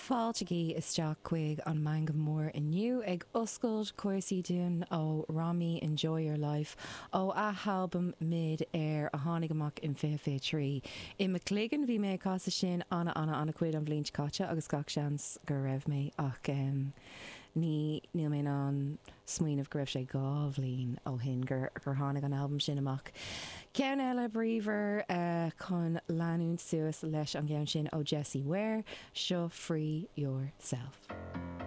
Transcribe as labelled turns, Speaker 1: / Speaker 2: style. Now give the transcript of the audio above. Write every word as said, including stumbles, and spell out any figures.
Speaker 1: Fáiltigí isteach chuig an Meangadh Mór inniu ag oscailt cúrsaí dúinn ó Rami Enjoy Your Life ó a albam Mid Air a tháinig amach in fiche fiche trí. I mo chloigeann bhí mé ag casadh sin ana ana ana chuid an bhliain caite agus gach seans go raibh mé ach um, ní níl mé an smaoineamh go raibh sé dhá bhliain ó shin gur gur tháinig an albam sin amach. Ceann eile bríomhar uh, chun leanúint suas leis an gceann sin ó Jessie Ware, seo Free Yourself.